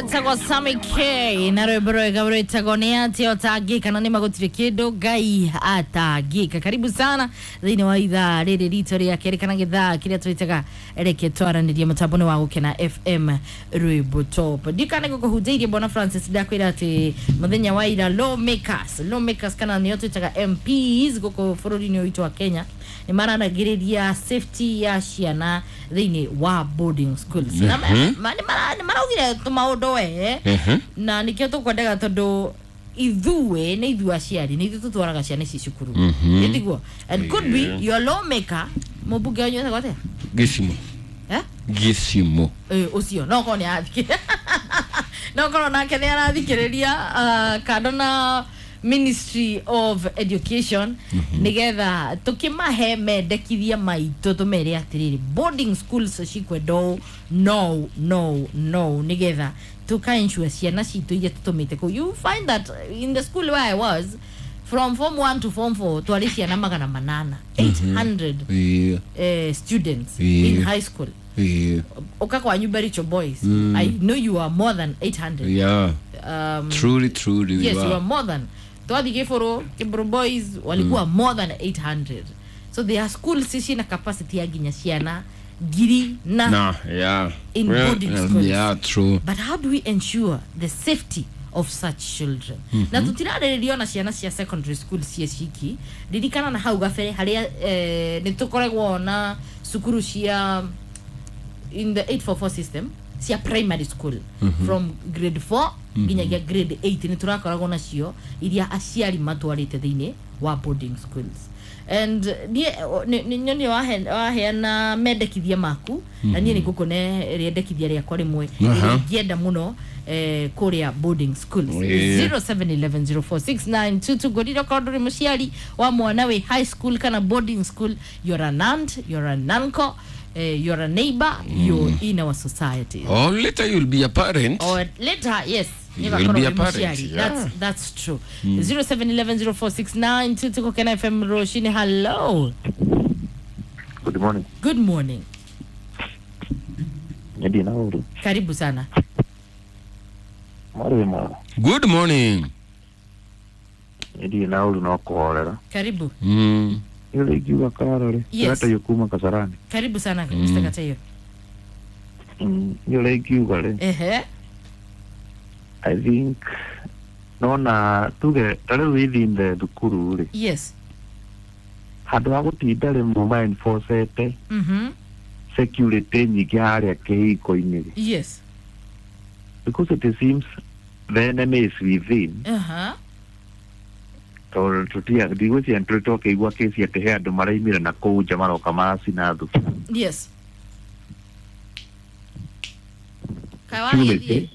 Etagwo Sammy K na rwimbo rwega rwitagwo nĩ atĩ ũtangĩka na nĩ magũtirĩ kĩndũ Ngai atangĩka. Karibu sana thĩinĩ wa ithaa rĩrĩ ritũ rĩa kerĩ kana gĩthaa kĩrĩa twĩtaga reke twaranĩrie mũtambo-inĩ wa Gũkena FM rwimbo top. Ndikane gũkũhunjĩirie Bwana Francis, ndakwĩra atĩ mũthenya wa ira lawmakers kana nĩo twĩtaga MPs gũkũ bũrũri-inĩ ũyũ witũ wa Kenya nĩ maranagĩrĩria safety ya ciana thĩinĩ wa boarding schools na nĩ maraugire tũmaũndũ we na nĩkĩo tũkwendaga tondũ ithuĩ nĩ ithuĩ aciari nĩ ithuĩ tũtwaraga ciana ici cukuru. Ĩtiguo? And could be your lawmaker, mũmbunge wanyu etagwo atĩa? Gĩcimo. Eh? Gĩcimo. Ũcio no korwo nĩ arathikĩ no korwo nake nĩ arathikĩrĩria, kando na Ministry of Education, nigetha tukimahe mendekithia maitũ tumere atiriri boarding schools cikwenda ũũ no no no nigetha tuka ensure ciana citũ iria tũtũmĩte kũu. You find that in the school where I was, from form 1 to form 4, twarĩ ciana 800, 800 students in high school. Uka kwa Baricho Boys, I know you are more than 800. Truly, truly we Yes, you were. are more than. Twathi Kiburu Boys walikuwa more than 800, so there are schools cina capacity ya nginya ciana ngiri na Nah, yeah. in Well, boarding schools. Yeah, true. But how do we ensure the safety of such children? Na tutirarĩrĩria ona ciana cia secondary school cie ciki. Ririkana na hau gabere harĩa nĩ tũkoragwo na cukuru cia in the 844 system cia primary school from grade 4 nginyagia grade 8, nĩ tũrakoragwo nacio iria aciari matwarĩte thĩinĩ wa boarding schools. And niĩ nĩ waheana mendekithia maku na niĩ nĩ ngũkũne rĩendekithia rĩakwa rĩmwe rĩrĩa ingĩenda mũno kũrĩa boarding schools. 0711046922 ngũrire okorwo ndũrĩ mũciari wa mwana wĩ high school kana boarding school, you're an aunt, you're an uncle, you're a neighbor, you're in our society. Or later you'll be a parent. Or later, yes. You Never will be wĩ a parent, mũciari. yeah. That's true. 0711046922 Kena FM Roshini, hello. Good morning. Good morning. Eddie Nauru. Karibu sana. Mwari mwega. Good morning. Eddie Nauru no kũhorera. Karibu. Ile ingiuga karore. Yes. Gatayo kuma Kasarani. Karibu sana, Mr. Katayo. Ile ingiuga rĩ. Ehe. I think nona tuge ta rĩu within the thukuru rĩ. Handũ ha gũtinda rĩmwe ma enforcete security nyingĩ harĩa kĩhingo-inĩ rĩ. Because it seems the enemy is within. Tondũ tũtia ndigwĩciria nĩ tũrĩ twakĩigua kĩci atĩ he andũ maraimire na kũu nja maroka maracina thukuru. Yes. Security. Kawagithie.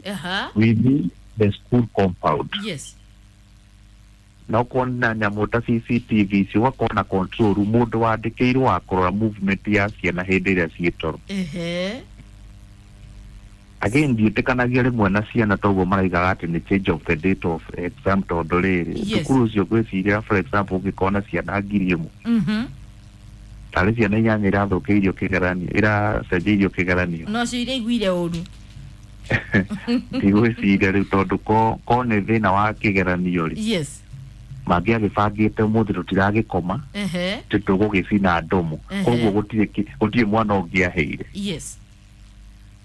Within the school compound. Na ũkona nyamũ ta CCTV ici, ũgakorwo na control room, mũndũ wandĩkĩirwo wa kũrora movement ya ciana hĩndĩ ĩrĩa ciĩ toro. Again, ndiĩtĩkanagia rĩmwe na ciana toguo maraigaga atĩ nĩ change of the date of exam, tondũ rĩrĩ thukuru ũcio ngwĩciria, for example, ũngĩkorwo na ciana 1,000, tarĩ ciana inyanya irathũkĩirio kĩgeranio, iracenjeirio kĩgeranio. No cio iraiguire ũru. Ndigwĩciria rĩu tondũ ko nĩ thĩna wa kĩgeranio rĩ, mangĩagĩbangĩte ũmũthĩ tũtiragĩkoma, tũgũgĩcina ndomo. Koguo gũtirĩ mwana ũngĩaheire.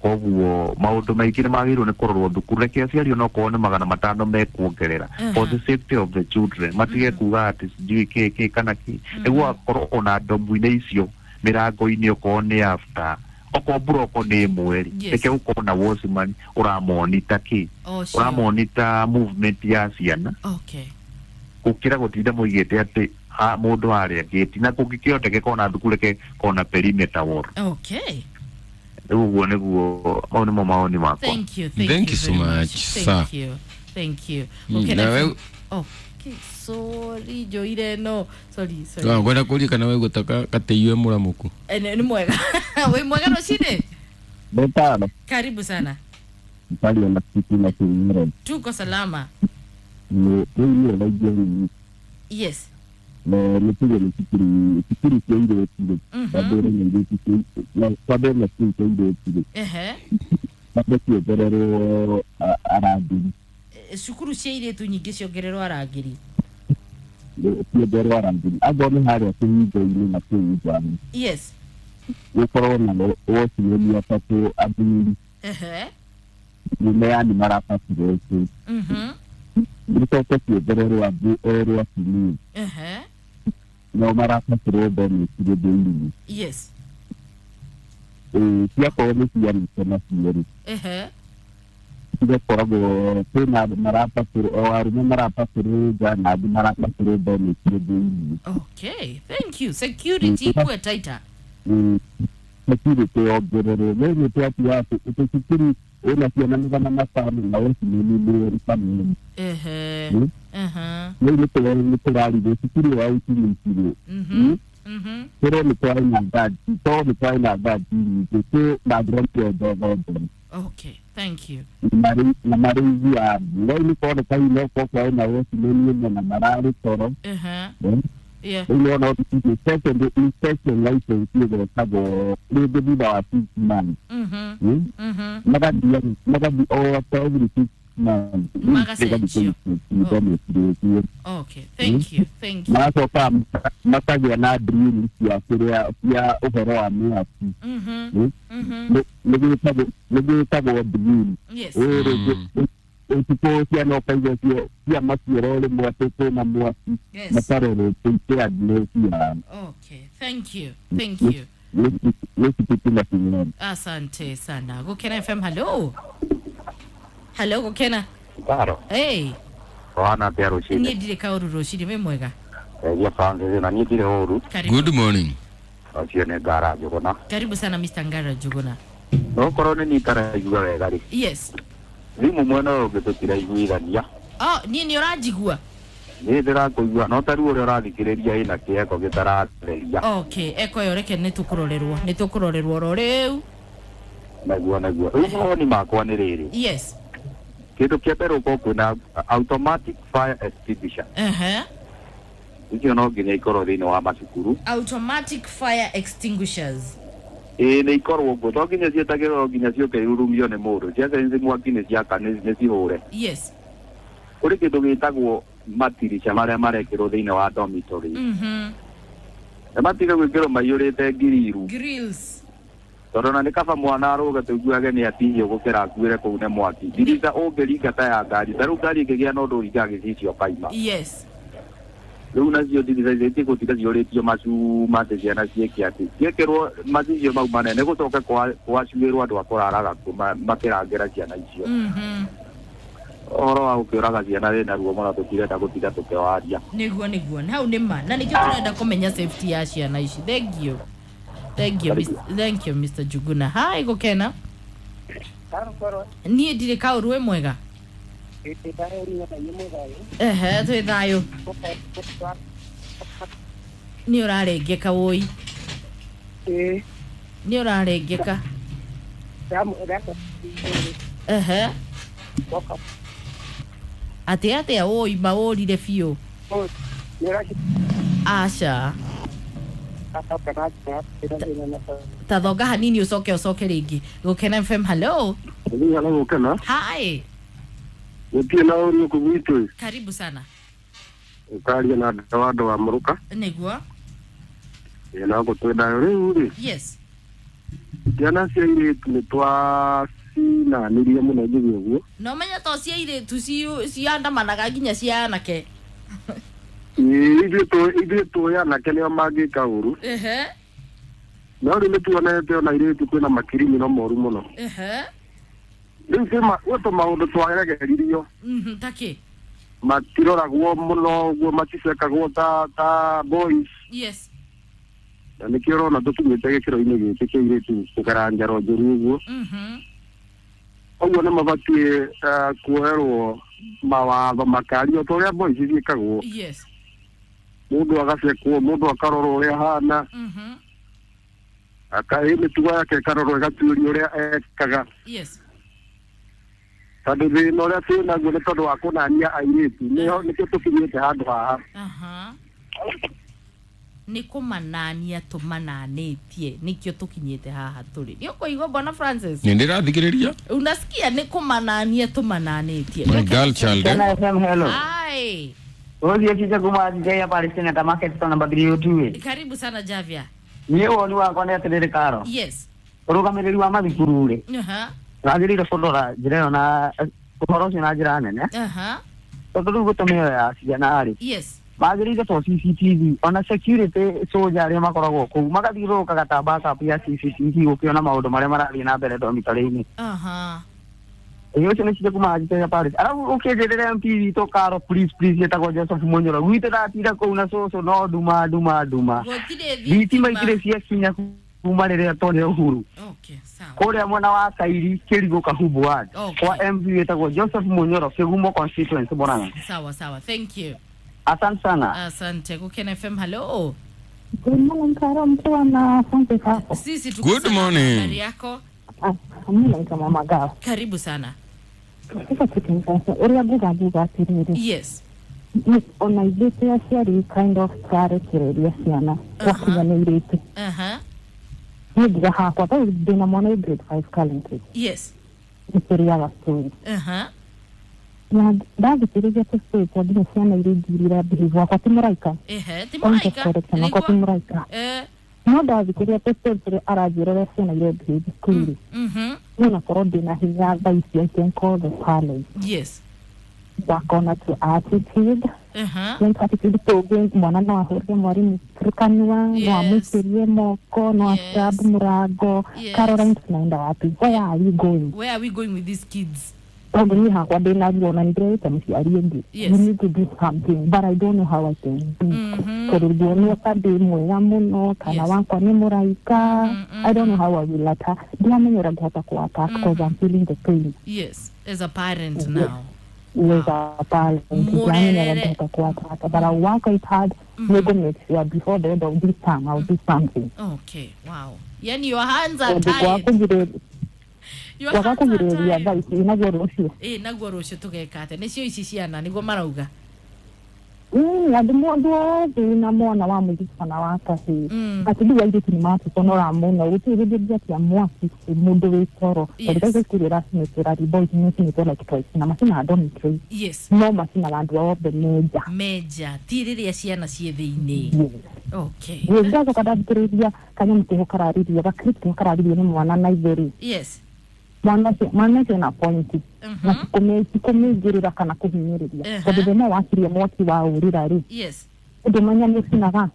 Koguo maũndũ maingĩ nĩ magĩrĩirwo nĩ kũrorwo thukuru. Reke aciari onokorwo nĩ 500 mekuongerera for the safety of the children, matige kuga atĩ sijui kĩ kĩ kana kĩ, nĩguo akorwo ona ndomu-inĩ icio mĩrango-inĩ, okorwo nĩ after, okorwo mburoko nĩ ĩmwe rĩ, reke gũkorwo na watchman ũramonita kĩ, Oh, sure. ũramonita movement ya ciana, gũkĩra gũtinda mũigĩte atĩ mũndũ harĩa gate, na kũngĩkĩhotekeka ona thukuru reke kona perimeter wall. Rĩu ũguo nĩguo, mau nĩmo mawoni makwa. Thank you. Thank, Thank you you so very much, much. sir. Thank you. Thank you. Okay, Na okay, sorry, Joire, no. Sorry, sorry. Ngwenda kũria kana waigua ta katĩiwe mũramũku. Nĩ mwega. Wĩ mwega rũcinĩ? Betano. Karibu sana. Pali na kitu na kimero. Tuko salama. Ni hiyo na hiyo. Na ni kile ni kikiri kikiri kile kile. Babere ni kikiri na babere na kile kile kile. Mambe ciongererwo arangĩri. Cukuru cia airĩtu nyingĩ ciongererwo arangĩri. Ciongererwo arangĩri angorwo nĩ harĩa kĩhingo-inĩ na kĩu nja. Yes. Gũkorwo na watchman atatũ athuri. Nĩ yani marabatirwo kĩ. Gĩcoke kĩongererwo angĩ erĩ atumia. Nao marabatirwo dormitory thĩinĩ. Yes. Ciakorwo nĩ cianĩte nacio rĩ. Cigakoragwo kwĩna marabatirwo o arũme marabatirwo nja na angĩ marabatirwo dormitory thĩinĩ. Okay, thank you. Security ikuwe tighter. Security yongererwo rĩu twatiga atĩ cukuru ĩna ciana 500 na watchman nĩ family. Rĩu nĩ tũrarigwo cukuru wa ũkinyĩtirwo. Kũrĩa nĩ kwarĩ na ngari, to nĩ kwarĩ na ngari nyingĩ, kwĩ na ndogo. Okay, thank you. Na marĩithi a rĩu nĩ kuoneka hihi no gũkorwo kwarĩ na watchman ĩmwe na mararĩ toro. Yeah. Rĩu nĩwona second inspection license ĩgwetagwo rĩngĩ thutha wa 6 months. Magathiĩ o after every 6 months. Magacenjio. Okay, thank you, thank you. Magacoka makagĩa na drill cia kĩrĩa cia ũhoro wa mĩaki. Nĩ gwĩtagwo drill. Yes. Ũtukũ ciana ũkaigua cia maciaro rĩmwe atĩ kwĩna mwaki. Yes. Makarorwo preparedness yao. Okay, thank you, thank you. Asante sana. Gukena FM, hello. Hello, Gukena. Taro. Hey. Wana pia rushini. Niĩ ndirĩ kaũru rũcinĩ, wĩ mwega? Ya Francis na niĩ ndirĩ ũru. Good morning. Ũcio nĩ Ngara Njũgũna. Karibu sana Mr. Ngara Njũgũna. No korwo nĩ niĩ itaraigua wega rĩ. Yes. Thimũ mwena ũyũ ũngĩ tũtiraiguithania. Oh, niĩ nĩ ũranjigua? Niĩ ndĩrakũigua no ta rĩu ũrĩa ũrathikĩrĩria ĩna kĩeko gĩtaratheria. Okay, eko ĩyo reke nĩ tũkũrorerwo, nĩ tũkũrorerwo oro rĩu. Naguo naguo. Rĩu mawoni makwa nĩ rĩrĩ. Yes. Kĩndũ kĩa mbere ũkorwo kwĩna automatic fire extinguisher. Icio no nginya ikorwo thĩinĩ wa macukuru. Automatic fire extinguishers. Ĩĩ nĩ ikorwo ũguo, to nginya ciĩtagĩrĩrwo nginya ciũke irurumio nĩ mũndũ. Ciacenjia mwaki nĩ ciaka nĩ cihũre. Yes. Kũrĩ kĩndũ gĩtagwo matirica marĩa marekĩrwo thĩinĩ wa dormitory. Nĩ matige gwĩkĩrwo maiyũrĩte ngiriru. Grills. Tondũ na nĩ kaba mwana arũge tũiguage nĩ atihio gũkĩra akuĩre kũu nĩ mwaki. Ndirica ũngĩringa ta ya ngari, ta rĩu ngari ĩngĩgĩa na ũndũ ũringaga gĩcicio ũkaima. Yes. Rĩu nacio ndirica icio itigũtinda ciũrĩtio macuma atĩ ciana ciĩke atĩ. Ciekĩrwo macicio mau manene gũcoke gwacuĩrwo andũ a kũraraga kuo makĩrangĩra ciana icio. Ũhoro wa gũkĩũraga ciana wĩna ruo mũno tũtirenda gũtinda tũkĩwaria. Nĩguo nĩguo, hau nĩ ma na nĩkĩo tũrenda kũmenya safety ya ciana ici. Thank you. Thank you, Mr. Thank you, Mr. Njuguna. Hi, Gukena. Niĩ ndirĩ kaũru, wĩ mwega? Ehe, twĩ thayũ. Nĩ ũrarengeka wũi. Nĩ ũrarengeka. Ehe. Atĩ atĩa wũi maũrire biũ. Aca. Ta thonga hanini ũcoke ũcoke rĩngĩ. Gukena FM, hello. Hello, Gukena. Hi. Gũtirĩ na ũru gũkũ gwitũ. Karibu sana. Ũkaria na andũ wa Mũrũka. Nĩguo. Ĩĩ no gũtwĩna rĩu rĩ. Yes. Ciana cia airĩtu nĩ twacinanirie mũno njuge ũguo. No menya to cia airĩtu ciandamanaga nginya cia anake. Ithuĩ tũĩ anake nĩo mangĩka ũru. No rĩu nĩtuonete ona airĩtu kwĩna makirimino moru mũno. Rĩu gwĩ tũmaũndũ twaregeririo. Ta kĩ? Matiroragwo mũno ũguo, maticekagwo ta boys. Yes. Na nĩkĩo ũrona tũkinyĩte gĩkĩro-inĩ gĩkĩ kĩa airĩtu kũgera njaro njũru ũguo. Ũguo nĩ mabatiĩ kuoherwo mawatho makario ta ũrĩa boys ciĩkagwo. Yes. Mũndũ agacekwo, mũndũ akarorwo ũrĩa ahana. Akaĩ mĩtugo yake ĩkarorwo ĩgatuĩrio ũrĩa ekaga. Yes. Tondũ thĩna ũrĩa twĩ naguo nĩ tondũ wa kũnania airĩtu, nĩkĩo tũkinyĩte handũ haha. Nĩ kũmanania tũmananĩtie nĩkĩo tũkinyĩte haha tũrĩ. Nĩ ũkũigua Bwana Francis? Nĩ ndĩrathikĩrĩria. Unasikia nĩ kũmanania tũmananĩtie. My girl child. Kena FM, hello. Hi. Ũthiĩ kice kuma Njaya Palestina ta market store number 302. Karibu sana Javia. Niĩ woni wakwa nĩ atĩrĩrĩ Karo. Yes. Ũrũgamĩrĩri wa mathukuru rĩ. Wagĩrĩire kũrora njĩra ĩyo na ũhoro ũcio na njĩra nene. Tondũ rĩu gũtũmĩo ya ciana rĩ. Yes. Magĩrĩire to CCTV ona security soldier arĩa makoragwo kũu magathiũrũrũkaga ta backup ya CCTV gũkĩona maũndũ marĩa marathiĩ na mbere dormitory-inĩ. Ĩĩ ũcio nĩ cire kuma Njaya Paris. Arabu ũkĩnjĩrĩre MP witũ Karo please please ĩtagwo Joseph Munyoro. Gwitũ ndatinda kũu na cũcũ no nduma nduma nduma. Thitima itirĩ ciakinya kuma rĩrĩa twonire Uhuru. Okay, sawa. Kũrĩa mwena wa Kairi Kĩrigũ Kahubu ward. Okay. Kwa MP wĩtagwo Joseph Munyoro Kĩgumo constituency Murang'a. Sawa sawa. Thank you. Asante sana. Asante. Gukena FM, hello. Good morning Karo, mkiwa na Francis hapo. Sisi tuko. Good morning. Habari yako? Mimi naitwa Mama Gao. Karibu sana. Sasa tukinga uria nguga nguga atiriri. Yes. Ona ithuĩ aciari kind of twarekereria ciana twakinyanĩirĩte. Niĩ ngiuga hakwa tondũ ndĩna mwana wĩ grade 5 currently. Yes. Nĩtũrĩaga story. Na ndathikĩrĩria tũ story twa nginya ciana iria ingĩ iria behave wakwa ti mũraika. Ti mũraika. Wakwa ti mũraika. No ndathikĩrĩria tũ story tũrĩa aranjĩra ũrĩa ciana iria behave cukuru. No nakorwo ndĩna hinya thaa ici I can call the parents. Yes. Work on to attitude. Then attitude tũngĩ mwana no ahũrĩre mwarimũ kanua, no amũikĩrie moko, no acab mũrango. Caroline, tunaenda wapi? Where are we going? Where are we going with these kids? Tondũ niĩ hakwa ndĩna ruo na nĩndĩrerĩte mũciari ũngĩ. Yes. We need to do something, but I don't know how I can do it. Tondũ nguonwo ta ndĩ mwega mũno kana wakwa nĩ mũraika. I don't know how I will attack. Ndiramenya ũrĩa ngũhota kũ attack because I'm feeling the pain. Yes, as a parent now. With a parent, ndiramenya ũrĩa ngũhota kũ attack, but I'll work it hard. We'll make sure before the end of this term I'll do something. Okay, wow. Yani your hands are tied. Wakakugirĩrĩria thaa ici naguo rũciũ. Ĩĩ naguo rũciũ tũgeka atĩa? Nĩcio ici ciana nĩguo marauga. Andũ othe na mwana wa mũirĩtu kana wa kahĩĩ. Atĩ rĩu airĩtu nĩ matũconora mũno gũtirĩ hĩndĩ ũngĩakia mwaki mũndũ wĩ toro. Tondũ thaa ici cukuru ĩracinĩtwo boys nĩcinĩtwo like twice na macinaga dormitory. Yes. No macinaga andũ othe menja. Menja ti rĩrĩa ciana ciĩ thĩinĩ. Okay. Ndacoka ndathikĩrĩria kanyamũ keho kararĩrio gakirĩtu keho kararĩrio nĩ mwana na ithe. Yes. Mwana ũcio ena point na tikũmĩingĩrĩra kana kũhinyĩrĩria tondũ thĩna wakirie mwaki wa ũrĩra rĩ. Yes. Ũndũmenya nĩ ũcinaga.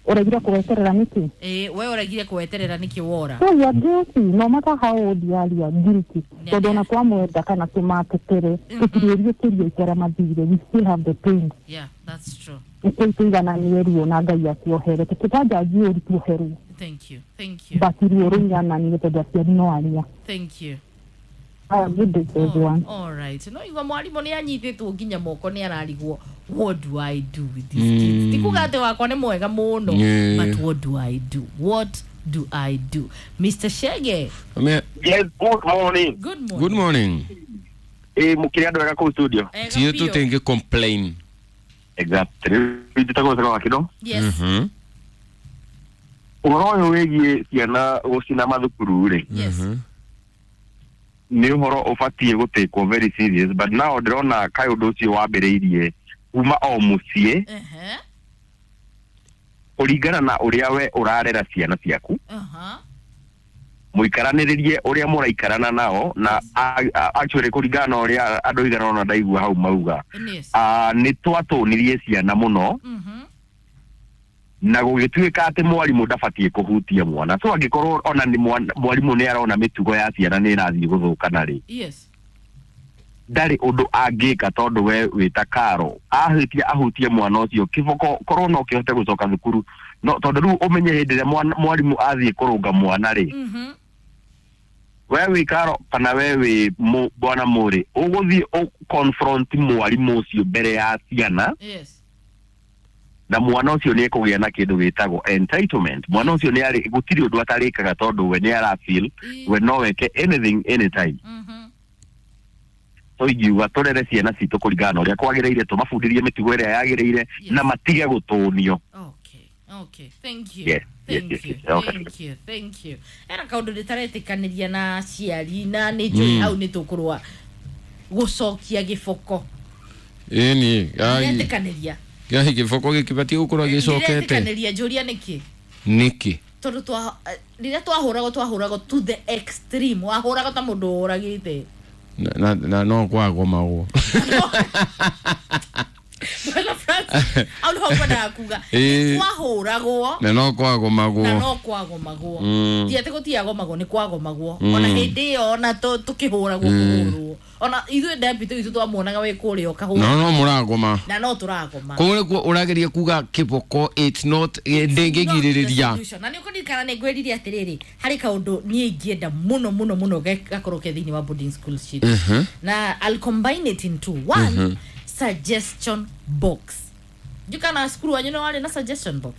Ũregire kũweterera nĩkĩ? We ũregire kũweterera nĩkĩ wora? So you are guilty no matter how old you are, you are guilty. Tondũ ona twamwenda kana tũmatetere tũtirĩriũkĩrio itera mathire, we still have the pain. Yeah, that's true. Nĩkĩo tũigananie ruo na Ngai atuohere tũtikajanji ũru tuoherwo. Thank you. Thank you. But ruo rũigananie tondũ aciari no aria. Thank you. Good day to everyone. All right. No igua mwarimu nĩ anyitĩtwo nginya moko nĩ ararigwo what do I do with these kids? Tikuga atĩ wakwa nĩ mwega mũno. But what do I do? What do I do? Mr. Shege. Yes, good morning. Good morning. Good morning. Mũkĩrĩ andũ ega kũu studio? Tiyo tũtingĩ complain. Exactly. Njĩtagwo Sero wa Kĩdo. Yes. Ũhoro ũyũ wĩgiĩ ciana gũcina mathukuru rĩ. Yes. Nĩ ũhoro ũbatiĩ gũtĩkwo very serious, but now ndĩrona kaĩ ũndũ ũcio wambĩrĩirie kuma o mũciĩ kũringana na ũrĩa we ũrarera ciana ciaku. Mũikaranĩrĩrie ũrĩa mũraikarana nao na actually kũringana na ũrĩa andũ aigana ũna ndaigua hau mauga. Nĩ twatũnirie ciana mũno na gũgĩtuĩka atĩ mwarimũ ndabatiĩ kũhutia mwana. So angĩkorwo ona nĩ mwarimũ nĩ arona mĩtugo ya ciana nĩ ĩrathiĩ gũthũkana rĩ, yes, ndarĩ ũndũ angĩka tondũ we wĩta Karo ahĩtie ahutie mwana ũcio kĩboko korwo no kĩhote gũcoka thukuru no tondũ rĩu ũmenye hĩndĩ ĩrĩa mwarimũ athiĩ kũrũnga mwana rĩ, we wĩ Karo kana we wĩ bwana Mũrĩ ũgũthiĩ ũ confront mwarimũ ũcio mbere ya ciana. Yes. Na mwana ũcio nĩ ekũgĩa na kĩndũ gĩtagwo entitlement. Mwana ũcio nĩ arĩ gũtirĩ ũndũ atarĩkaga tondũ we nĩ ara feel we no weke anything anytime. So ingiuga tũrere ciana citũ kũringana na ũrĩa kwagĩrĩire, tũmabundithie mĩtugo ĩrĩa yagĩrĩire na matige gũtũnio. Okay. Okay, thank you. Yes, Thank yes, you. yes, okay. Thank you. Thank you. Era kaundu nditaretĩkanĩria na aciari na nĩ njũĩ hau nĩ tũkũrũa gũcokia gĩboko. Ĩni, ai. Ndiretĩkanĩria. Gĩahi gĩboko gĩkĩbatiĩ gũkorwo gĩcokete. Ndiretĩkanĩria, njũria nĩkĩ? Nĩkĩ? Tondũ rĩrĩa twahũragwo to the extreme, wahũragwo ta mũndũ ũragĩte. Na no kwagomagwo. Bwana Francis, au nĩho ngwendaga kuga. Twahũragwo Na no kwagomagwo. Na no kwagomagwo. Ti atĩ gũtiagomagwo, nĩ kwagomagwo. Ona hĩndĩ ĩyo ona tũkĩhũragwo kũhũrwo. Ona ithuĩ deputy witũ twamuonaga wĩ kũrĩa ũkahũrwo. No mũragoma. Na no tũragoma. Koguo nĩkuo ũrageria kuga kĩboko it's not ndĩngĩgirĩrĩria. Na nĩ ũkũririkana nĩ ngwĩrire atĩrĩrĩ, harĩ kaũndũ niĩ ingĩenda mũno mũno mũno gakorwo ke thĩinĩ wa boarding school sheet. Na I'll combine it into one. Suggestion box. Jukana cukuru wanyu nĩ warĩ na suggestion box?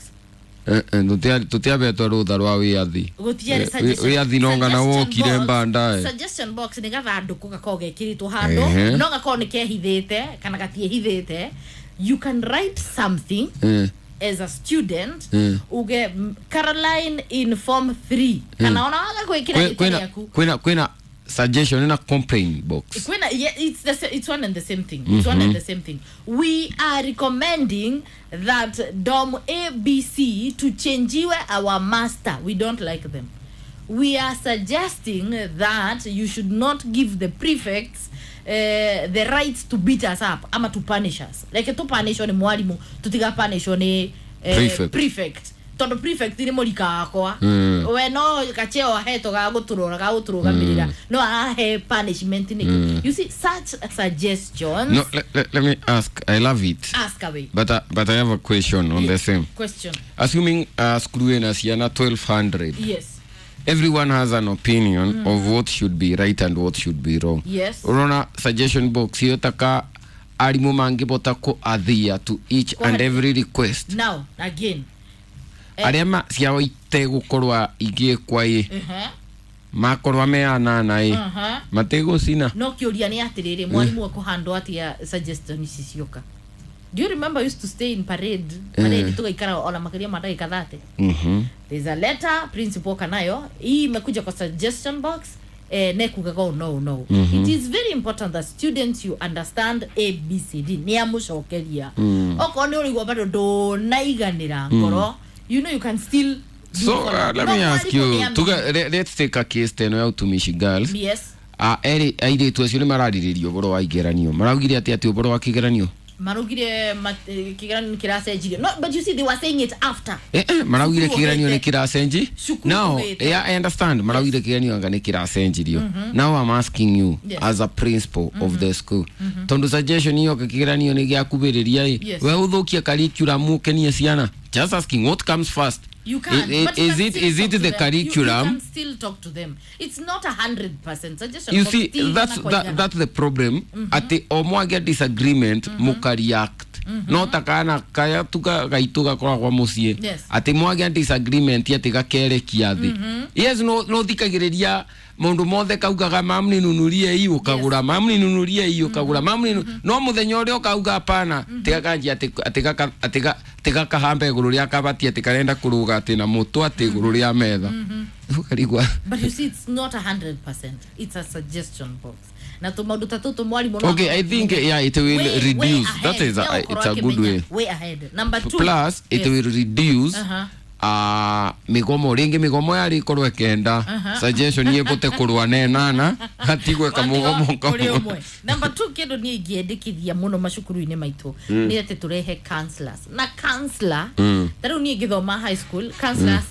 Tũtiabetwo rũtha rwa wĩyathi. Wĩyathi no ngana wokire mbandae. Suggestion box nĩ gathandũkũ gakoragwo gekĩrĩtwo handũ, no gakorwo nĩ kehithĩte kana gatiĩhithĩte. You can write something as a student, uge Caroline in form 3 kana ona waga gwĩkĩra gĩtĩ gĩaku. Kwĩna suggestion in a complaint box. Yeah, it's one and the same thing. It's one and the same thing. We are recommending that Dom ABC to change our master. We don't like them. We are suggesting that you should not give the prefects the right to beat us up ama to punish us. Like to punish ni mwalimu, tutiga punish ni prefect. Tondu prefect ni mũrika wakwa. We no gacheo ahetwo ga gũtũrora ga gũtũrũgamĩrĩra no arahe punishment nĩkĩ? You see, such suggestions. No, let me ask. I love it. Ask away. But I have a question on the same question. Assuming skuru ina ciana 1200. Yes. Everyone has an opinion of what should be right and what should be wrong. Yes. Urona suggestion box iyo taka arimũ mangĩbota kũ adhere to each and every request. Now again, arĩa ciao itegũkorwa igĩkwa ĩ makorwa me anana ĩ matigũcina. No kĩũria nĩ atĩrĩrĩ, mwarimũ ekũhandwo atĩa suggestion ici cioka? Do you remember we used to stay in parade? Parade tugaikara ona makĩria ma ndagĩka 30. There's a letter principal kanayo hii imekuja kwa suggestion box, nekugaga no. It is very important that students you understand A B C D. Nĩ amũcokeria. Okorwo nĩ ũrĩigua bado ndũnaiganĩra ngoro, you know you can still So let me ask you, let's take a case teno ya utumishi girls. Yes. Eri airĩtu acio nĩ mararĩrĩria ũhoro wa igeranio. Maraugire atĩ ũhoro wa kĩgeranio? Maraugire kĩgeranio nĩ kĩracenjirio. No, but you see they were saying it after. Maraugire kĩgeranio nĩ kĩracenji. Now, yeah, I understand. Maraugire kĩgeranio anga nĩ kĩracenjirio. Now I'm asking you as a principal of the school. Tondu suggestion iyo kĩgeranio nĩ gĩakubĩrĩria ĩ. We ũthũkie curriculum ũkenie ciana. Just asking what comes first. You can. Is it the curriculum? You can still talk to them. It's not 100% suggestion. You see, that's the problem. Ati o mwagĩa disagreement muka react. No takana kaya tuka gaitu gakoragwo muciĩ. Ati mwagĩa disagreement ati gakerekia thĩ. Yes, no thikagĩrĩria maundu mothe kaugaga mamu ninunurie ii ukagura, mamu ninunurie ii ukagura, mamu no muthenya uria ukauga hapana, tiga kanji ati tiga kahambe iguru ria kabati ati karenda kuruga ati na mutu ati iguru ria metha. Ukarigwa. But you see, it's not 100%. It's a suggestion box. Na to maundu tatu mwalimu. Okay, I think yeah, it will reduce. That is it's a good way. Way ahead. Number 2. Plus it will reduce migomo ringi migomo yari korwo kenda suggestion yebote kurwa nenana hatigwe kamugomo kamwe. Number 2 kindu ni ingiendekithia muno macukuru-ini maitu ni ati turehe counselors na counselor tariu ni ngithoma high school counselors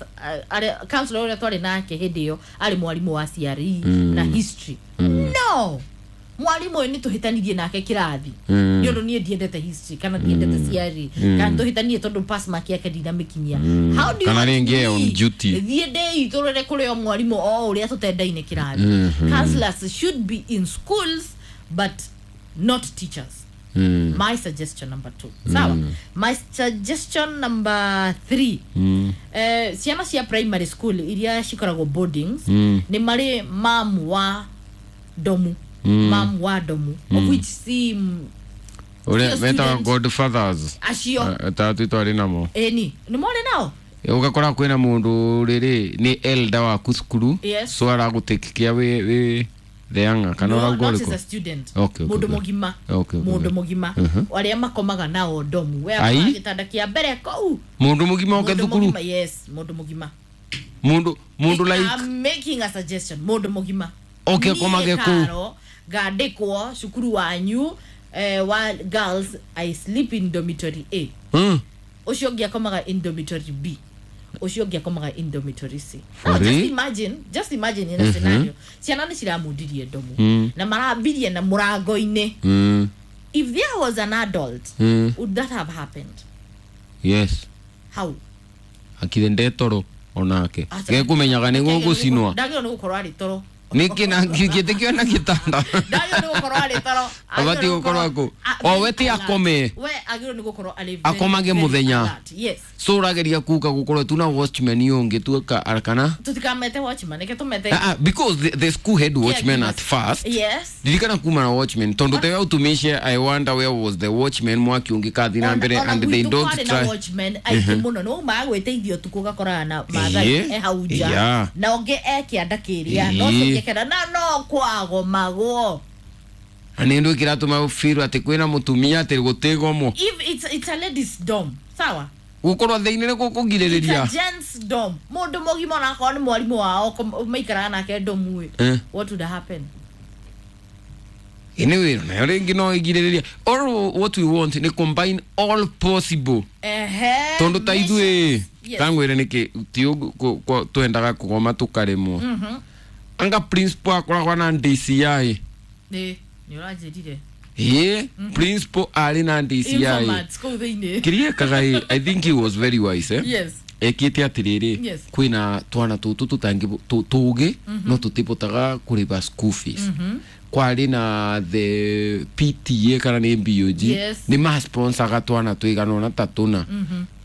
counselor uria twari nake hindi iyo ari mwarimu wa CRE na history. No mwarimu uyu ni tuhitanirie nake kirathi ni undu nie ndiendete history kana ndiendete CRE kana tuhitanie tondu pass mark yake ndinamikinyia. How do you kana ringi on duty thie ndei turere kuri o mwarimu o uria tutendaine kirathi. Counselors should be in schools but not teachers. My suggestion number 2. Sawa. My suggestion number 3. Ciana cia primary school iria cikoragwo boardings ni mari mamu wa domu. Mam wa domu of which si ure meta godfathers acio tatu twari namo eni ni more nao Ugakora kwina mundu riri ni elder waku cukuru. Yes. So aragutikikia wi the younger kana No, urauga not as ũrĩkũ? a student. Okay, Mundu okay. mugima. Okay, Mundu okay. mugima. Aria makomaga nao ndomu. We Ai. akomaga gĩtanda kĩa mbere kũu. Mundu mugima oke Mundu thukuru. mugima, yes, mundu mugima. Mundu like I'm making a suggestion. Mundu mugima. Oke Niĩ akomage kũu. Karo, ngandĩkwo cukuru wanyu wa girls I sleep in dormitory A. Ũcio ũngĩ akomaga in dormitory B. Ũcio ũngĩ akomaga in dormitory C. For Now, just real? imagine, just imagine in a scenario. Ciana nĩ ciramundirie ndomu na marambirie na mũrango-inĩ. If there was an adult, would that have happened? Yes. How? Akire ndetoro onake. Acha. Gekumenyaga nĩ gũgũcinwa. Ndagĩrĩirwo nĩ gũkorwo arĩ toro. Nĩkĩ na gĩtĩ kĩona gĩtanda. Ndagĩrĩirwo nĩ gũkorwo arĩ toro. Abatiĩ gũkorwo kũ? O we ti akome. We agĩrĩirwo nĩ gũkorwo arĩ very, Akomage very mũthenya. alert. Yes. So ũrageria kuga gũkorwo tu na watchman ũngĩ tu kana Tũtikamete watchman, reke tũmete. Because the school had watchman at Caregivers. first. Yes. Ndirikana kuma na watchman tondu te utumishe. I wonder where was the watchman mwaki ũngĩkathi na mbere and they gwitũ don't kwarĩ na try. watchman aingĩ mũno nĩ umaga gwĩteithia ũtukũ ũgakoraga na mathai Ĩĩ. e hau nja Yeah. na ũngĩ e kĩanda kĩrĩa na Ĩĩ. ũcio ũngĩ kĩanda na no kwagomagwo. Na nĩ ndũ kĩratũma feel atĩ kwĩna mũtumia atĩ gũtigomwo. If it's a ladies dorm, sawa, Gũkorwo thĩinĩ nĩ it's a gũkũgirĩrĩria. gents dorm. Mũndũ mũgima onakorwo nĩ mwarimũ wao maikaraga nake ndomu ĩ, what would happen? Anyway, nayo rĩngĩ no ĩgirĩrĩria. Or what we want nĩ combine all possible. Ehe. Tondu ta ithuĩ Yes. tangwĩre nĩkĩ ti ũguo twendaga kũgoma tũkarĩmwo. Anga principal akoragwo na DCI. Nĩ ũranjĩrire. Ĩĩ, principal arĩ na DCI. Informants kũu thĩinĩ. Kĩrĩa ekaga ĩ, I think he was very wise, eh? Yes. Ekĩte atĩrĩrĩ, Yes. kwĩna twana tũtũ tũtangĩ tũgĩ no tũtibotaga kũrĩba school fees. Kwarĩ na the PTA kana nĩ BOG. Yes. Nĩ masponsaga twana tũigana ũna ta tũna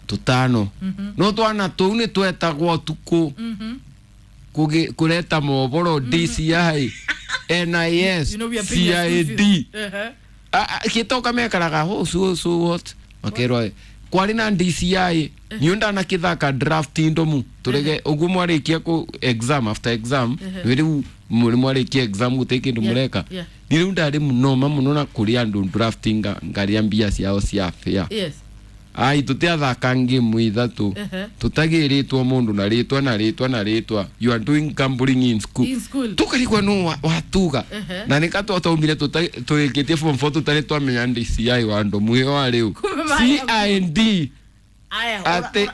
tũtano, no twana tũu nĩ twetagwo ũtukũ kũreta mohoro DCI, NIS, You know we are paying your school CID. fees. Ehe. Gĩtoka mekaraga ho so so what makerwo kwarĩ na DCI nĩ ndanakĩthaka draft ndomu tũrege ũguo mwarĩkia kũ exam after exam nĩ rĩu mũrĩ mwarĩkia exam gũtirĩ kĩndũ mũreka. Nĩ rĩu ndarĩ mũnoma mũno na kũrĩ andũ draft ngarĩa mbia ciao cia fare. Yes. Ai tũtiathaka ngĩmu ithatũ tũtagĩrĩtwo mũndũ na rĩtwa na rĩtwa na rĩtwa, you are doing gambling in school. In school. Tũkarigwo nũ watuga na nĩ katwataumire tũrĩkĩtie form 4 tũtarĩ twamenya DCI wa ndomu ĩyo wa rĩu. Kumbe marĩa- CID Aya, atĩ.